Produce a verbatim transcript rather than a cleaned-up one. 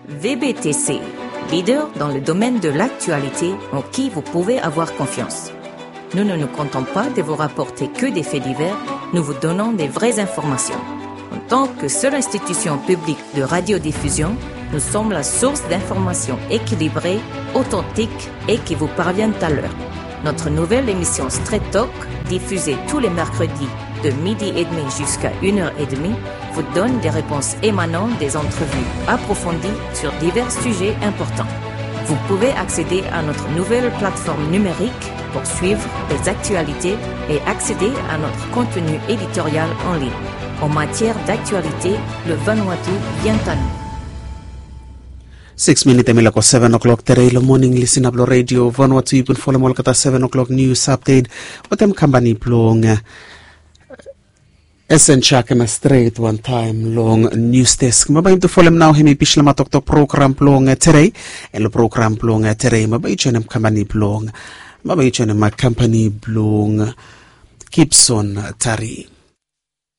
V B T C, leader dans le domaine de l'actualité en qui vous pouvez avoir confiance. Nous ne nous contentons pas de vous rapporter que des faits divers, nous vous donnons des vraies informations. En tant que seule institution publique de radiodiffusion, nous sommes la source d'informations équilibrées, authentiques et qui vous parviennent à l'heure. Notre nouvelle émission Straight Talk, diffusée tous les mercredis de midi et demi jusqu'à une heure et demie, vous donne des réponses émanant des entrevues approfondies sur divers sujets importants. Vous pouvez accéder à notre nouvelle plateforme numérique pour suivre les actualités et accéder à notre contenu éditorial en ligne. En matière d'actualité, le Vanuatu vient à nous. Six minit em i lako seven o'clock tere i lo moning lisin ap lo redio Vanuatu i bin folem olgeta seven o'clock news update wetem kampani blong Esen Chak na stret wantaem long news desk. Maba yum tu folem nao hem i bislama toktok program blong tere. En lo program blong tere maba i joinem kampani blong maba i joinem kampani blong Gibson Tari.